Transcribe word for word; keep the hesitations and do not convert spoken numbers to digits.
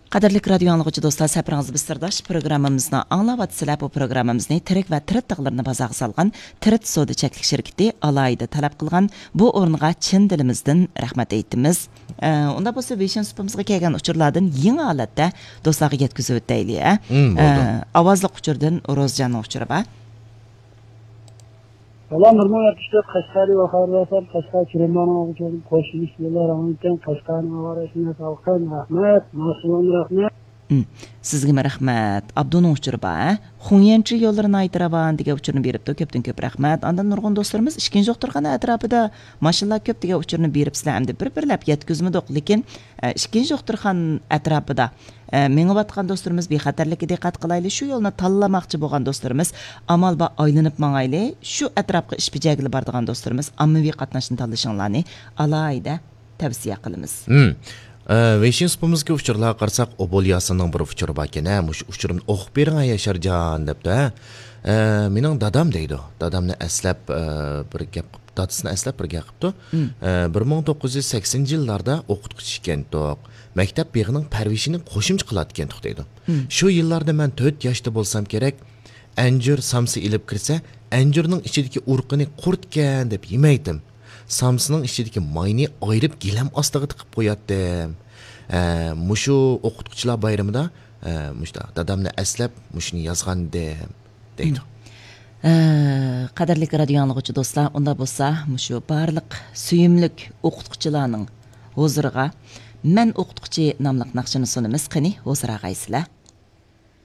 قەدىرلىك رادىيو ئاڭلىغۇچى دوستلار، سەپىرىڭىزدە بىز سىرداش پروگراممىمىزنى ئاڭلاۋاتىسىلەر. بۇ پروگراممىمىزنى تىرىك ۋە تىرىت تاغلىرىنى بازارغا سالغان تىرىت سودا چەكلىك شىركىتى ئالاھىدە تەلەپ قىلغان، بۇ ئورۇنغا چىن دىلىمىزدىن رەھمەت ئېيتىمىز. ئە، ئۇنداق بولسا، ۋېيشىن سۇپىمىزغا كەلگەن ئۇچۇرلاردىن يېڭى ھالەتتە دوستلارغا يەتكۈزۈۋېتەيلى، ئە؟ مم، بولدى. ئە، ئاۋازلىق ئۇچۇردىن روزجاننىڭ ئۇچۇرى بار. سالام، بىر مىڭ يەتمىش تۆت قەشقەرلىك ۋاقارلىسام، قەشقەر كىرىملارنىڭ ئالدىدا كەلدىم. قوشۇلۇش يوللار ئاڭلىتىڭ، قەشقەرنىڭ ئاۋارەسىنى سالقىن. رەھمەت، ماشىنىلارنى رەھمەت. ھىم، سىزگىمۇ رەھمەت. ئابدۇنىڭ ئۇچۇرى بار، ھە؟ خۇڭيەنچى يوللىرى ناھايىتى راۋان دېگەن ئۇچۇرنى بېرىپتۇ. كۆپتىن كۆپ رەھمەت. ئاندىن نۇرغۇن دوستلىرىمىز ئىككىنچى دوختۇرخانا ئەتراپىدا ماشىنىلار كۆپ دېگەن ئۇچۇرنى بېرىپسىلەر. ئەمدى بىر-بىرلەپ يەتكۈزمىدۇق، لېكىن، ئە، ئىككىنچى دوختۇرخانا ئەتراپىدا، ئە، مېڭىۋاتقان دوستلىرىمىز بىخەتەرلىككە دىققەت قىلايلى. شۇ يولنى تاللىماقچى بولغان دوستلىرىمىز ئامال بار ئايلىنىپ ماڭايلى. شۇ ئەتراپقا ئىش بېجەرگىلى بارىدىغان دوستلىرىمىز ئاممىۋى قاتناشنى تاللىشىڭلارنى ئالاھىدە تەۋسىيە قىلىمىز. ھىم. ئە، ۋېيشىن سۇپىمىزدىكى ئۇچۇرلارغا قارىساق، ئوبۇل ياسىننىڭ بىر ئۇچۇرى باركەن، ھە، مۇشۇ ئۇچۇرۇمنى ئوقۇپ بېرىڭ، ھە، ياشارجان، دەپتۇ، ھە. ئە، مېنىڭ دادام دەيدۇ. دادامنى ئەسلەپ، ئە، بىر گەپ قىپ-، دادىسىنى ئەسلەپ بىر گەپ قىپتۇ. ھىم. ئە، بىر مىڭ توققۇز يۈز سەكسىنىنچى يىللاردا ئوقۇتقۇچى ئىكەنتۇق. مەكتەپ بېغىنىڭ پەرۋىشىنى قوشۇمچە قىلاتىكەنتۇق دەيدۇ. ھىم. شۇ يىللاردا مەن تۆت ياشتا بولسام كېرەك، ئەنجۈر سامسا ئېلىپ كىرسە، ئەنجۈرنىڭ ئىچىدىكى ئۇرۇقىنى قۇرتكەن دەپ يېمەيتتىم. سامسىنىڭ ئىچىدىكى ماينى ئايرىپ گىلەم ئاستىغا تىقىپ قوياتتىم. ئە، مۇشۇ ئوقۇتقۇچىلار بايرىمىدا، ئە، مۇشۇنداق دادامنى ئەسلەپ مۇشۇنى يازغانىدىم، دەيدۇ. ھە، قەدىرلىك رادىيو ئاڭلىغۇچى دوستلار، ئۇنداق بولسا مۇشۇ بارلىق سۆيۈملۈك ئوقۇتقۇچىلارنىڭ ھۇزۇرىغا مەن ئوقۇتقۇچى ناملىق ناخشىنى سۇنىمىز. قېنى، ھۇزۇر ئاغايسىلەر.